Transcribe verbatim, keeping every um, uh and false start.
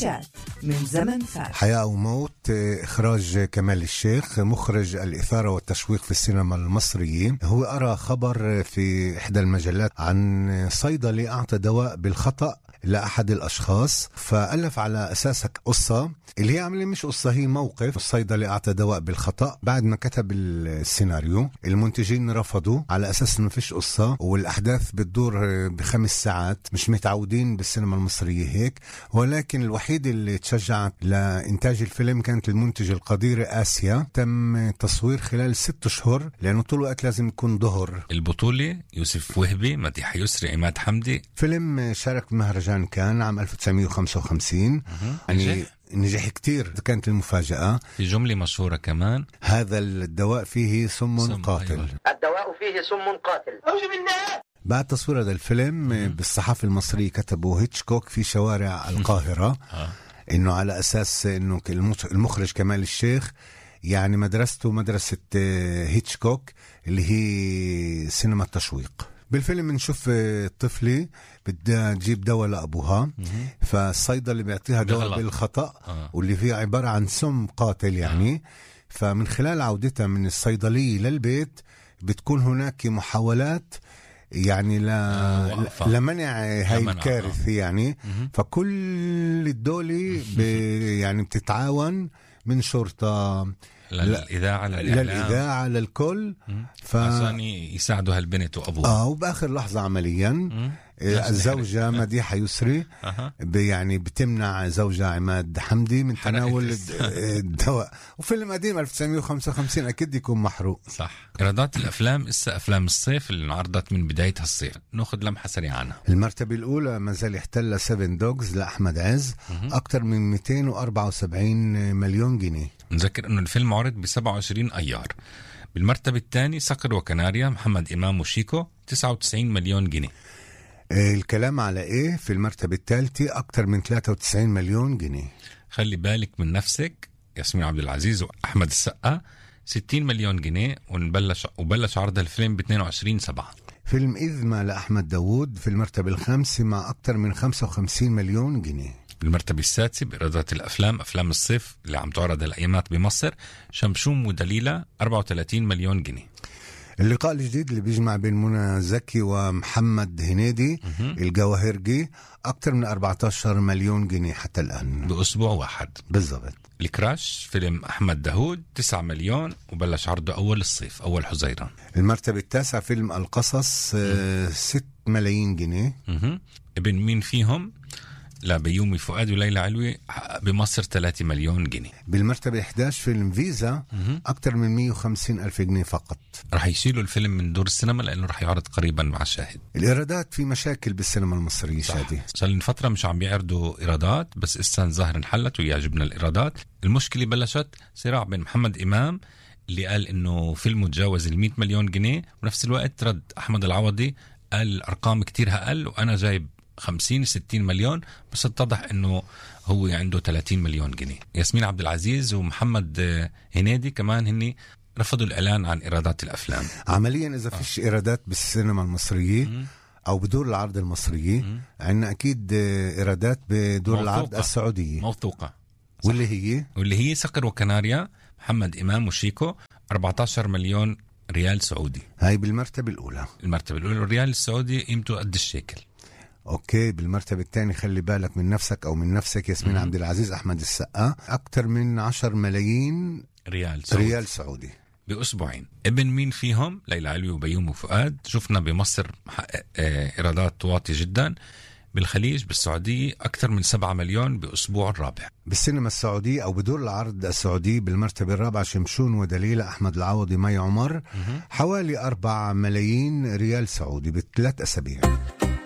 كليشات من زمن فات. حياة وموت، إخراج كمال الشيخ، مخرج الإثارة والتشويق في السينما المصرية. هو أرى خبر في إحدى المجلات عن صيدلي أعطى دواء بالخطأ لأحد الأشخاص، فألف على أساسك قصة اللي هي عملية مش قصة، هي موقف. الصيدلي أعطى دواء بالخطأ. بعد ما كتب السيناريو المنتجين رفضوا على أساس إنه فيش قصة والأحداث بتدور بخمس ساعات. مش متعودين بالسينما المصرية هيك، ولكن الوحيد اللي تشجعت لإنتاج الفيلم كانت المنتجة القديرة آسيا. تم تصوير خلال ست شهور لأنه طول الوقت لازم يكون ظهر. البطولة يوسف وهبي، مديحة يسري، عماد حمدي. فيلم شارك بمهرجان كان عام ألف وتسعمية وخمسة وخمسين. يعني نجح كتير، كانت المفاجأة. في جملة مشهورة كمان: هذا الدواء فيه سم, سم قاتل. أيوة. الدواء فيه سم قاتل. أعوذ بالله. بعد تصوير هذا الفيلم بالصحافة المصرية كتبوا هيتشكوك في شوارع القاهرة إنه على أساس إنه المخرج كمال الشيخ يعني مدرسته مدرسة هيتشكوك اللي هي سينما التشويق. بالفيلم نشوف طفلة بدها تجيب دواء لأبوها، فالصيدلي بيعطيها دواء بالخطأ آه. واللي فيه عبارة عن سم قاتل يعني آه. فمن خلال عودتها من الصيدلية للبيت بتكون هناك محاولات يعني ل... آه لمنع هاي الكارثة آه. يعني مه. فكل الدولة ب... يعني بتتعاون من شرطة للإذاعة للإذاعة للكل ف... عشان يساعدوا هالبنت وأبوها. آه وبآخر لحظة عمليا الزوجة مديحة يسري أه. يعني بتمنع زوجها عماد حمدي من تناول الدواء. وفيلم قديم ألف وتسعمية وخمسة وخمسين أكيد يكون محروق. صح. إيرادات الأفلام إسا أفلام الصيف اللي انعرضت من بداية هالصيف، نأخذ لمحة سريعة عنها. المرتبة الأولى ما زال يحتل سيفن دوغز لأحمد عز أكتر من مئتين وأربعة وسبعين مليون جنيه. نذكر أنه الفيلم عرض بسبعة وعشرين أيار. بالمرتبة الثانية صقر وكناريا محمد إمام وشيكو تسعة وتسعين مليون جنيه. الكلام على إيه في المرتبة الثالثة أكتر من ثلاثة وتسعين مليون جنيه. خلي بالك من نفسك ياسمين عبد العزيز وأحمد السقا ستين مليون جنيه. ونبلش وبلش عرض الفيلم ب اثنين وعشرين سبعة. فيلم إذما لأحمد داوود في المرتبة الخامسة مع أكتر من خمسة وخمسين مليون جنيه. المرتبة السادسة بإيرادات الأفلام أفلام الصيف اللي عم تعرض الأيامات بمصر شمشوم ودليلة أربعة وثلاثين مليون جنيه. اللقاء الجديد اللي بيجمع بين منى زكي ومحمد هنيدي الجواهرجي أكتر من أربعة عشر مليون جنيه حتى الآن بأسبوع واحد بالضبط. الكراش فيلم أحمد داوود تسعة مليون وبلش عرضه أول الصيف أول حزيران. المرتبة التاسعة فيلم القصص آه ست ملايين جنيه. مه. ابن مين فيهم لبيومي فؤاد وليلى علوي بمصر ثلاثة مليون جنيه. بالمرتبة إحدى عشر فيلم فيزا أكتر من مئة وخمسين ألف جنيه فقط. رح يشيلوا الفيلم من دور السينما لأنه رح يعرض قريبا مع شاهد. الإيرادات في مشاكل بالسينما المصرية شادي. صار لنا فترة مش عم بيعرضوا إيرادات، بس إسان ظاهر انحلت ويعجبنا الإيرادات. المشكلة بلشت صراع بين محمد إمام اللي قال إنه فيلمه تجاوز المئة مليون جنيه، ونفس الوقت رد أحمد العوضي قال الأرقام كتير أقل وأنا جايب خمسين ستين مليون، بس اتضح انه هو عنده ثلاثين مليون جنيه. ياسمين عبد العزيز ومحمد هنيدي كمان هني رفضوا الاعلان عن ايرادات الافلام. عمليا اذا آه. فيش ايرادات بالسينما المصريه م- او بدور العرض المصريه عندنا اكيد ايرادات بدور موثوقة. العرض السعوديه موثوقه. واللي هي واللي هي صقر وكناريا محمد امام وشيكو أربعة عشر مليون ريال سعودي. هاي بالمرتبه الاولى. المرتبه الاولى الريال السعودي قيمته قد الشيكل. اوكي. بالمرتبة الثانية خلي بالك من نفسك او من نفسك ياسمين عبد العزيز احمد السقا اكتر من عشر ملايين ريال سعودي. ريال سعودي باسبوعين. ابن مين فيهم ليلى علوي وبيومي وفؤاد شفنا بمصر محقق ايرادات واطية جدا. بالخليج بالسعودية أكثر من سبعة مليون بأسبوع الرابع. بالسينما السعودية أو بدور العرض السعودي بالمرتبة الرابعة شمشون ودليلة أحمد العوضي مي عمر حوالي أربعة ملايين ريال سعودي بثلاث أسابيع.